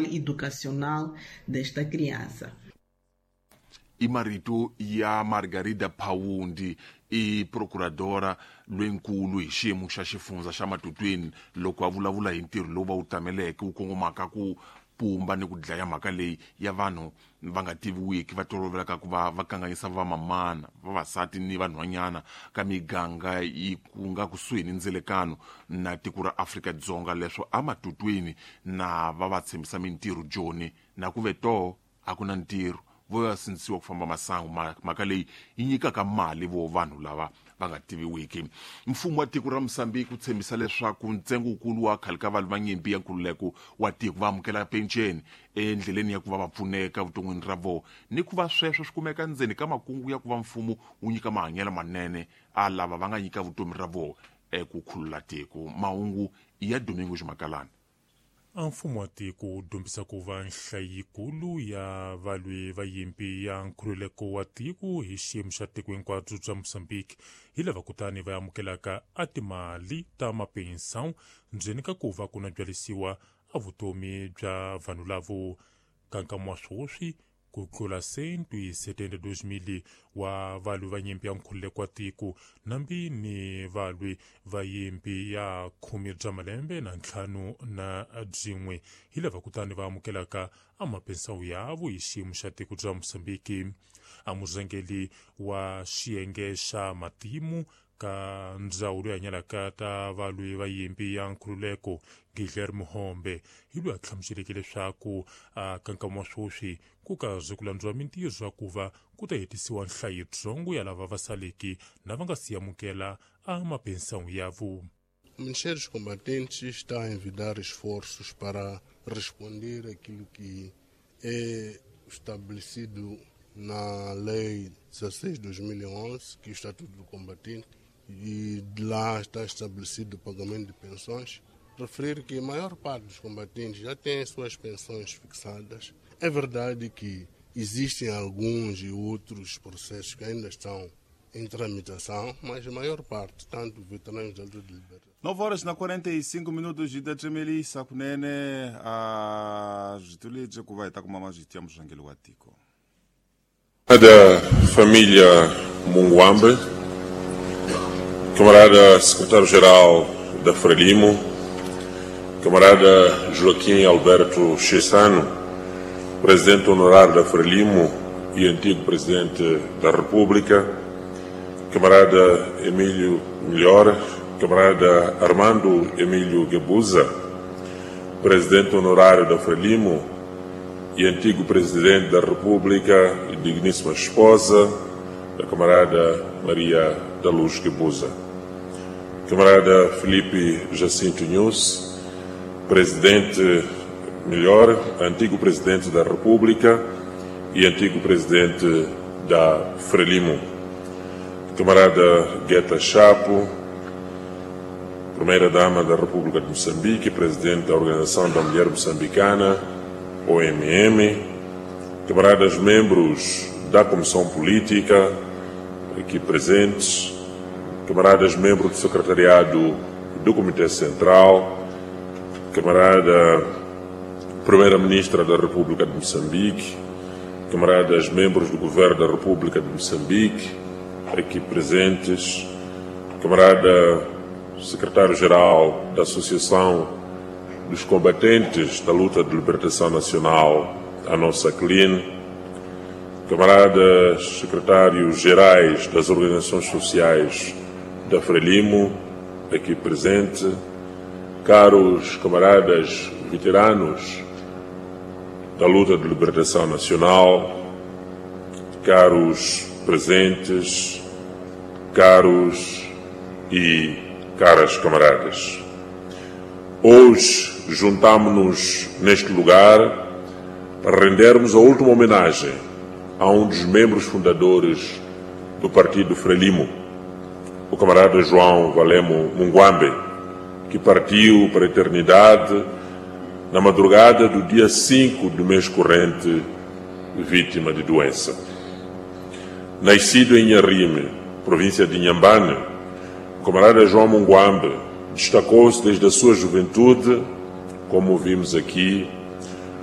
Educacional desta criança. I marito ya Margarida Phawundi, i procuradora lwenkulu hi xiyimo xa xifundza xa Matutwini, loko a vulavula hi ntirho lowu va wu tameleke wu kongomaka ku pumba ni ku dlaya mhaka leyi ya vanhu va nga tiviwiki va tolovelaka ku va va kanganyisa vamamana, vavasati ni vanhwanyana ka miganga yi ku nga kusuhi ni ndzelekano na tiko ra Afrika-Dzonga. Leswo amatutwini na va va tshembisa mintirho joni na ku ve toho a ku na ntirho, vo ya sindzisiwa ku famba masangu, mhaka leyi yi nyikaka mali vo vanhu lava va nga tiviwiki. Mfumo wa tiko ra Mosambiki wu tshembisa leswaku ntsengo wukulu wa khale ka valwi va nyimpi ya nkululeko wa tiko va amukela penceni endleleni ya ku va va pfuneka vuton'wini ra vona, ni ku va sweswo swi kumeka ndzeni ka makungu ya ku va mfumo wu nyika mahanyelo manene a lava va nga nyika vutomi ra vona eku khulula tiko. Mahungu ya Domingo Ximakalana. A mfumo wa tiko wu dyondzisa ku va nhlayikulu ya valwi va yimpi ya nkhululeko wa tiko hi xiyimo xa tiko hinkwabyo bya Mozambique hi lava kutani va amukelaka a timali ta mapensão ndzeni ka ku va ku na byalisiwa a vutomi bya vanhu lavo. Ka nkama wa swoswi, ku tlula 172 000 wa valwi va nyimpi ya nkhululeko wa tiko nambi ni valwi va yimpi ya khume bya malembe na ntlhanu na byin'we hi lava kutani va amukelaka amapensawu yavo hi xiyimo xa tiko bya Mosambiki. A murhangeri wa xiyenge xa matimu ka ndzawulo ya hanyalaka ta valwi va yimpi ya nkhululeko, Guilherme Hombe, hi loyi a hlamuseleke leswaku a ka nkama wa swoswi ku kaze ku landziwa mintirho ya ku va ku ta hetisiwa nhlayo yitsongo ya lava va saleke na va nga si amukela a mapensawu yavo. O Ministério dos Combatentes está a envidar esforços para responder aquilo que é estabelecido na Lei 16 de 2011, que é o Estatuto do Combatente, e de lá está estabelecido o pagamento de pensões. Referir que a maior parte dos combatentes já tem as suas pensões fixadas. É verdade que existem alguns e outros processos que ainda estão em tramitação, mas a maior parte, tanto veteranos da luta de liberdade. 9 horas na 45 minutos de kunene a zvitulije ku va hi ta kuma mazviti ya murhangeri wa tiko. Da família Munguambe, camarada secretário-geral da Frelimo, camarada Joaquim Alberto Chissano, presidente honorário da Frelimo e antigo presidente da República, camarada Emílio Melhor, camarada Armando Emílio Guebuza, presidente honorário da Frelimo e antigo presidente da República e digníssima esposa da camarada Maria da Luz Guebuza, camarada Felipe Jacinto Nyusi, presidente melhor, antigo presidente da República e antigo presidente da Frelimo, camarada Gueta Chapo, primeira-dama da República de Moçambique, presidente da Organização da Mulher Moçambicana, OMM, camaradas membros da Comissão Política, aqui presentes, camaradas membros do Secretariado do Comitê Central, camarada Primeira-Ministra da República de Moçambique, camaradas membros do Governo da República de Moçambique, aqui presentes, camarada Secretário-Geral da Associação dos Combatentes da Luta de Libertação Nacional, a nossa CLIN, camaradas secretários-gerais das organizações sociais da Frelimo, aqui presente, caros camaradas veteranos da luta de libertação nacional, caros presentes, caros e caras camaradas. Hoje juntamo-nos neste lugar para rendermos a última homenagem a um dos membros fundadores do Partido Frelimo, o camarada João Valemo Munguambe, que partiu para a eternidade na madrugada do dia 5 do mês corrente, vítima de doença. Nascido em Inharrime, província de Inhambane, o camarada João Munguambe destacou-se desde a sua juventude, como vimos aqui,